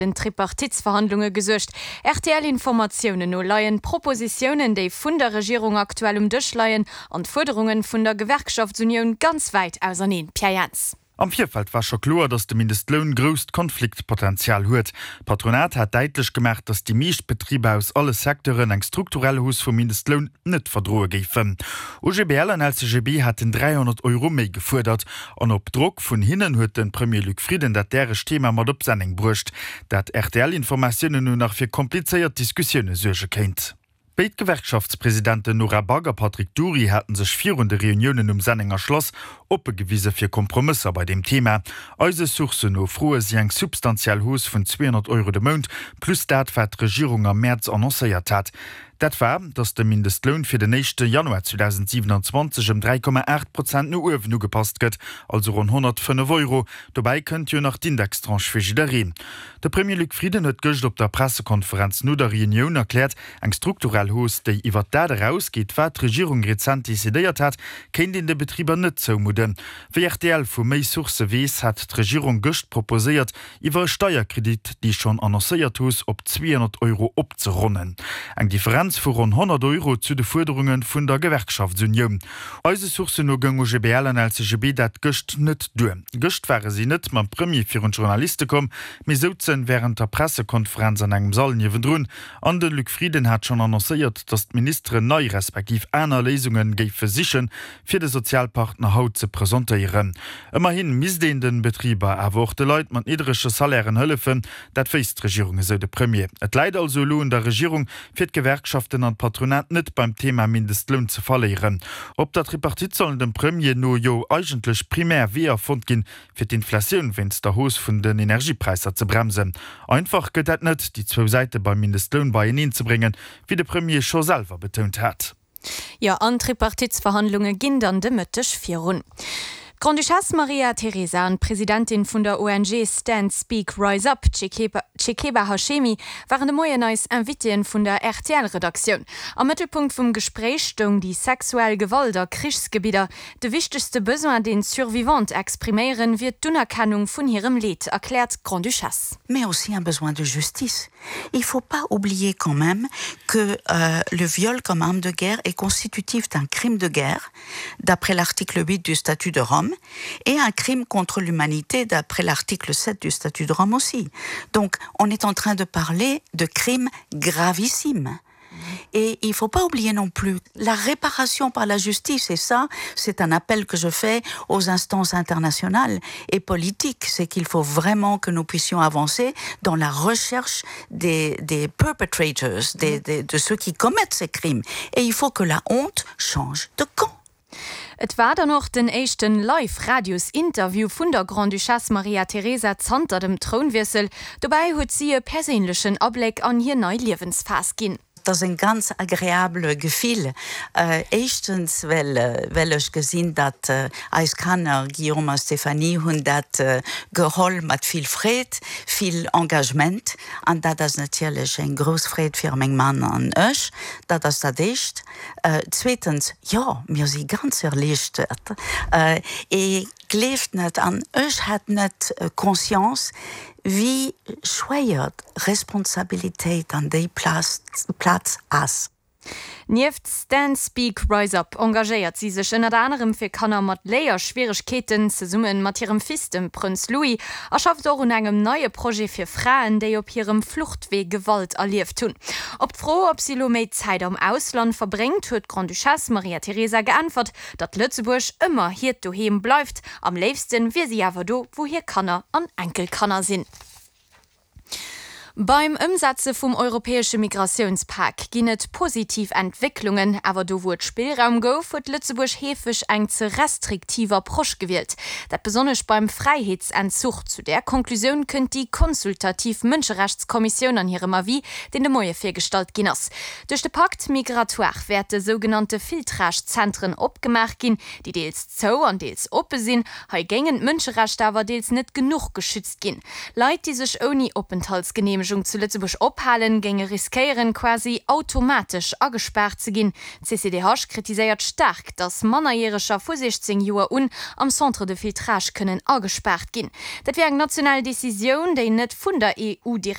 Den Tripartitsverhandlunge gesuergt. RTL-Informatiounen no leien d'Propositiounen, déi vun der Regierung aktuell um Dësch leien, an d'Fuerderunge vun der Gewerkschaftsunioun ganz wäit auserneen. Pierre Jans. Am Virfeld war scho kloer, datt de Mindestloun grousst Konfliktpotenzial huet. D'Patronat hat däitlech gemaach, datt déi meescht Betriber aus alle Secteuren eng strukturell Hausse vum Mindestloun net verdroe géifen. OGBL an LCGB haten 300 Euro méi gefuerdert. An op Drock vun hinnen huet de Premier Luc Frieden dat däregt Thema mat op Senneng bruecht, dat RTL-Informatiounen no nach fir komplizéiert Diskussioune suerge kéint. Béid Gewerkschaftspresidenten Nora Back a Patrick Dury haten sech virun de Reuniounen um Sennenger Schlass oppe gewise fir Kompromësser bei deem Thema. Eise Sourcen no froe si eng substantiell Hausse vun 200 Euro de Mount, plus dat wat d'Regierung am Mäerz annoncéiert hat. Dat war, datt de Mindestloun fir den éischte Januar 2027 ëm 3,8 Prozent no uewen ugepasst gëtt, also ronn 105 Euro. Dobäi kënnt jo nach d'Indextranche fir jiddereen. De Premier Luc Frieden huet gëscht op der Pressekonferenz no der Reunioun erkläert, eng strukturell Hausse, déi iwwer dat erausgeet, wat d'Regierung rezent decidéiert hat, kéint een de Betriber net zoumudden. Wéi rtl vu méi Sourcë weess, hat d'Regierung gëscht proposéiert, iwwer e Steierkredit déi schonn annoncéiert Hausse op 200 Euro opzeronnen. Eng Differenz vu ronn 100 Euro zu de Fuerderunge vun der Gewerkschaftsunioun. Eise Sourcen no goung OGBL an LCGB dat gëscht net duer. Gëscht ware si net mam Premier virun d'Journaliste komm, mee souzen wärend der Pressekonferenz an engem Sall niewendrun. An de Luc Frieden hat schonn annoncéiert, datt d'Ministeren nei respektiv aner Léisunge géife sichen, fir de Sozialpartner haut ze presentéieren. Ëmmerhi misst een de Betriber, awer och de Leit mat niddrege Salairen hëllefen. Dat wéisst d'Regierung, esou de Premier. Et läit also elo un der Regierung, fir d'Gewerkschaften an d'Patronat net beim Thema Mindestloun ze verléieren. Op der Tripartite sollen dem Premier no jo eigentlech primär Weeër fonnt ginn, fir d'Inflatioun wéinst der Hausse vun den Energiepräisser ze bremsen. Einfach gëtt dat net, déi zwou Säite beim Mindestloun beieneen ze bréngen, wéi de Premier scho selwer betount hat. Jo, an d'Tripartitsverhandlunge ginn dann de Mëtteg virun. D'Grande-Duchesse Maria Teresa an d'Presidentin vun der ONG Stand Speak Rise Up, d'Shekeba Hashemi, waren de Moien eis Invitéen vun der RTL-Redaktioun. Am Mëttelpunkt vum Gespréich stoung déi sexuell Gewalt a Krichsgebidder. De wichtegste Besoin, deen d'Survivantes expriméieren, wier d'Unerkennung vun hirem Leed, erkläert d'Grande-Duchesse. Mais aussi un besoin de justice. Il faut pas oublier quand même que euh, le viol comme arme de guerre est constitutif d'un crime de guerre d'après l'article 8 du statut de Rome et un crime contre l'humanité d'après l'article 7 du statut de Rome aussi. Donc on est en train de parler de crimes gravissimes. Et il faut pas oublier non plus la réparation par la justice et ça c'est un appel que je fais aux instances internationales et politiques, c'est qu'il faut vraiment que nous puissions avancer dans la recherche des, des perpetrators, des, des, de ceux qui commettent ces crimes. Et il faut que la honte change de camp. Et war dann och den éischten Live-Radios-Interview vun der Grande-Duchesse Maria Teresa zanter dem Trounwiessel. Dobäi huet si e perséinlechen Abléck an hir nei Liewensphas ginn. Et ass en ganz agreabele Gefill. Éischtens well well ech gesinn, datt eis Kanner, Guillaume a Stéphanie, hunn dat geholl mat vill Freed, vill Engagement. An dat ass natierlech eng grouss Freed fir meng Mann an ech. Dat ass dat Éischt. Zweetens, jo, mir si ganz erliichtert. Ee gleeft net, an ech hat net Conscience, wéi schwéier d'Responsabilitéit an déi Plaz ass. Nieft Stand Speak Rise Up engagéiert si sech ënnert anerem fir Kanner mat Léierschwieregkeeten, zesumme mat hirem Fils, dem Prënz Louis, a schafft och un engem neie Projet fir Fraen, déi op hirem Fluchtwee Gewalt erlieft hunn. Op d'Fro, ob si elo méi Zäit am Ausland verbréngt, huet d'Grande-Duchesse Maria Teresa geäntwert, datt Lëtzebuerg ëmmer hiert Doheem bleift. Am léifste wier si awer do, wou hir Kanner an Enkelkanner sinn. Beim Ëmsetze vum europäesche Migratiounspak ginn et positiv Entwécklungen, awer do wou et Spillraum gouf, huet Lëtzebuerg heefeg eng ze restriktiv Approche gewielt. Dat besonnesch beim Fräiheetsentzuch. Zu där Konklusioun kënnt déi consultativ Mënscherechtskommissioun an hirem Avis, deen de Moie virgestallt ginn ass. Duerch de Pacte migratoire wäerte sougenannte Filtrage-Zentren opgemaach ginn, déi deels zou an deels oppe sinn. Hei géingen d'Mënscherechter awer deels net genuch geschützt ginn. Leit, déi sech ouni Openthaltsgeneemegung. Openthaltsgeneemegung zu Lëtzebuerg ophalen, géinge riskéieren, quasi automatesch agespaart ze ginn. D'CCDH kritiséiert staark, datt Mannerjäreger vu 16 Joer un am Centre de filtrage kënnen agespaart ginn. Dat wier eng national Decisioun, déi net vun der EU direkt.